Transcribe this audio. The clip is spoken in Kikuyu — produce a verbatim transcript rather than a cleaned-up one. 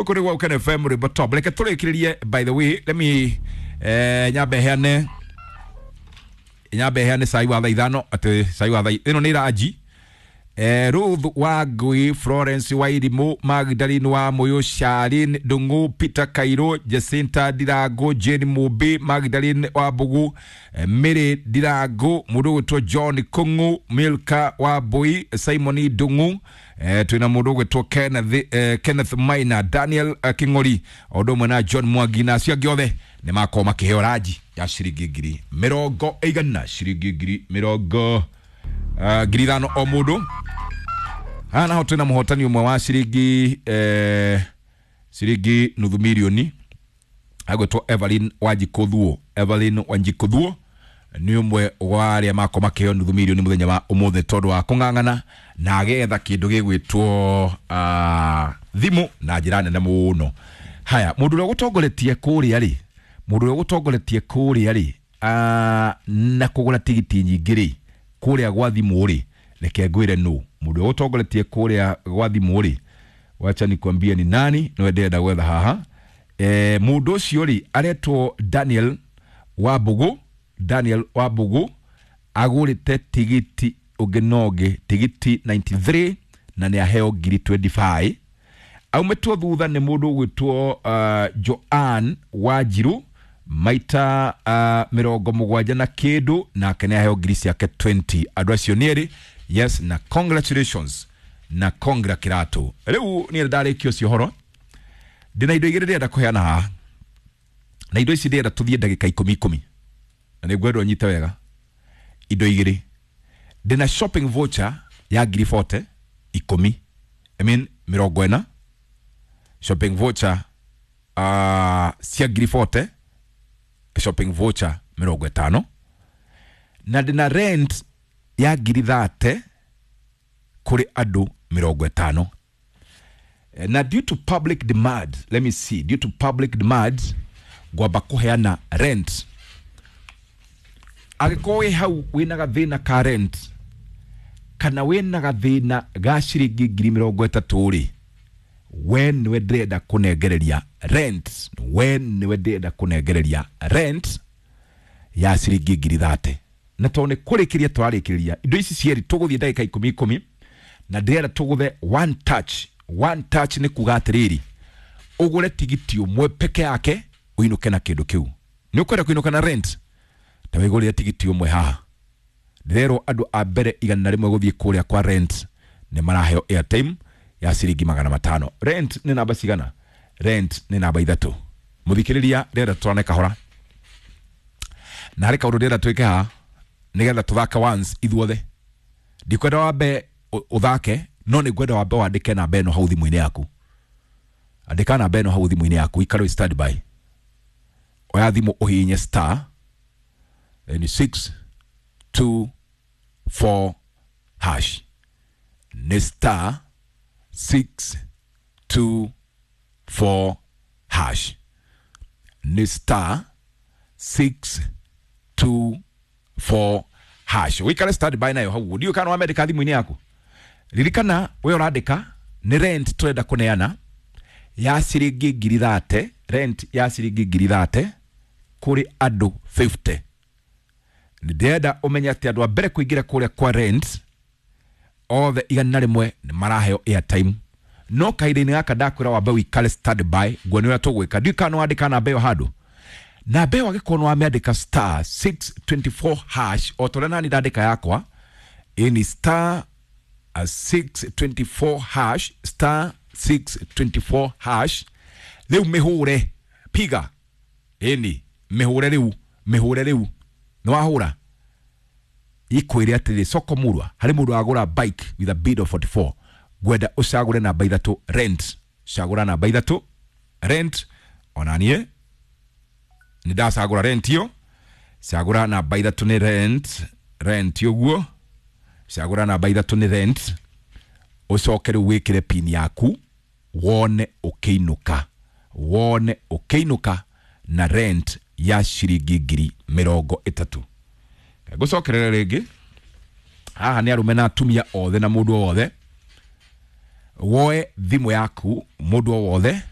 Gũkũ nĩ gwa Ũkene F M, rwĩmbo top. Reke tũrĩkĩrĩrie. By the way, let me eh, nyambe heane nyambe heane cai wa thaa ithano, atĩ cai wa thaa ĩno nĩ ranji. Eh, Ruth Wangui, Florence Wairimu, Magdalene wa Muyu, Charlene Ndungu, Peter Kairo, Jacinta Ndirango, Jane Mumbi, Magdalene wa Mbugu, eh, Mary Ndirango, mundu gwitwo John Kungu, Milka wa Mbui, Simon Ndungu, eh, twina mundu gwitwo Kenneth, eh, Kenneth Maina, Daniel eh, King'ori, o ũndũ ũmwe na John Mwangi na acio angĩ othe nĩ makorwo makĩheo ranji ya ciringi ngiri mĩrongo ĩigana, ciringi ngiri mĩrongo uh, ngiri ithano o mũndũ. Haha naho twĩna mũhotani ũmwe wa ciringi eh, ciringi nuthu mirioni, agwĩtwo Evelyn Wanjikũ Thuo. Evelyn Wanjikũ Thuo nĩ ũmwe wa arĩa makorwo makĩheo nuthu mirioni mũthenya wa ũmũthĩ tondũ wa kũng'ang'ana na agetha kĩndũ gĩgwĩtwo uh, thimũ na njĩra nene mũno. Haya, mũndũ ũrĩa ũgũtongoretie kũrĩa rĩ, mũndũ ũrĩa ũgũtongoretie kũrĩa rĩ uh, na kũgũra tigiti nyingĩ rĩ kũrĩa gwa thimũ rĩ, reke ngwĩre nũ mũndũ ũrĩa ũgũtongoretie kũrĩa gwa thimũ rĩ. Wacha nikwambie ni nani nĩwe ndĩrenda gwetha haha. E, mũndũ ũcio rĩ aretwo Daniel Wambugu. Daniel Wambugu agũrĩte tigiti ũngĩ na ũngĩ, tigiti mĩrongo kenda na ithatũ, na nĩ aheo ngiri mĩrongo ĩĩrĩ na ithano. Aumĩtwo thutha nĩ mũndũ ũgwĩtwo uh, Joan Wanjiru, maita uh, mĩrongo mũgwanja na kĩndũ, nake nĩ aheo ngiri ciake mĩrongo ĩĩrĩ. Andũ acio nĩ erĩ, yes, na congratulations na congra kĩratũ. Rĩu niĩ ndarĩkia ũcio ũhoro, ndĩna indo igĩrĩ ndĩrenda kũheana haha, na indo ici ndĩrenda tũthiĩ ndagĩka ikũmi ikũmi, na nĩ ngwenda ũnyite wega. Indo igĩrĩ ndĩna: shopping voucher ya ngiri mĩrongo ĩna ikũmi, I mean mĩrongo ĩna, shopping voucher uh, cia ngiri mĩrongo ĩna, shopping voucher mĩrongo ĩtano, na ndĩna rent ya ngiri thate kũrĩ andũ mĩrongo ĩtano. Eh, na due to public demand, let me see, due to public demand ngwamba kũheana rent. Angĩkorwo wĩ hau wĩna gathĩna ka rent kana wĩna gathĩna ga ciringi ngiri mĩrongo ĩtatũ rĩ, we nĩwe ndĩrenda kũnengereria rent, we nĩwe ndĩrenda kũnengereria rent ya ciringi ngiri thate. Na tondũ nĩ kũrĩkĩria tũrarĩkĩrĩria indo ici cierĩ, tũgũthiĩ ndagĩka ikũmi ikũmi, na ndĩrenda tũgũthe one touch. One touch nĩ kuga atĩrĩrĩ, ũgũre tigiti ũmwe peke yake ũinũke na kĩndũ kĩu. Nĩ ũkwenda kũinũka na rent, ta wĩgũrĩre tigiti ũmwe haha. Ndĩrerwo andũ a mbere igana rĩmwe gũthiĩ kũrĩa kwa rent nĩ maraheo airtime ya ciringi magana matano. Rent nĩ namba cigana? Rent nĩ namba ithatũ. Mũthikĩrĩria, ndĩrenda tũrane kahora, na harĩ kaũndũ ndĩrenda twĩke haha nĩgetha tũthake once ithuothe. Ndikwenda wambe ũ- ũthake, no nĩ ngwenda wambe wandĩke namba ĩno hau thimũ-inĩ yaku. Andĩka namba ĩno hau thimũ-inĩ yaku, ikare wĩ standby. Oya thimũ, ũhihinye star, then six two four hash. Nĩ star six two four hash, nĩ star six two four hash. Wikare standby nayo hau. Ndiũ kana wamendĩka thimũ-inĩ yaku. Ririkana, we ũrandĩka nĩ rent tũrenda kũneana ya ciringi ngiri thate, rent ya ciringi ngiri thate kũrĩ andũ mĩrongo ĩtano. Ndĩrenda ũmenye atĩ andũ a mbere kũingĩra kũrĩa kwa rent othe igana rĩmwe nĩ maraheo airtime, no kahinda-inĩ gaka ndakwĩra wambe wikare standby nguone ũrĩa tũgwĩka. Ndiũĩ kana nĩ wandĩka namba ĩyo handũ. Namba ĩyo angĩkorwo nĩ wamĩandĩka, star six two four hash, o ta ũrĩa nani ndandĩka yakwa, ĩni star uh, six two four hash, star six two four hash. Rĩu mĩhũre, piga, ĩni mĩhũre rĩu, mĩhũre rĩu. Nĩ wahũra, ikwĩre atĩrĩ, soko murwa, harĩ mũndũ wagũra bike with a bid of forty-four. Ngwenda ũcagũre namba ithatũ, rent. Cagũra namba ithatũ, rent. Ona niĩ nĩ ndacagũra rent ĩyo. Cagũra namba ithatũ, nĩ rent, rent ũguo. Cagũra namba ithatũ, nĩ rent. Ũcoke rĩu wĩkĩre pin yaku, wone ũkĩinũka, wone ũkĩinũka na rent ya ciringi ngiri mĩrongo ĩtatũ. Ngũcokerere rĩngĩ haha nĩ arũme na atumia othe na mũndũ o wothe woe thimũ yaku, mũndũ o wothe.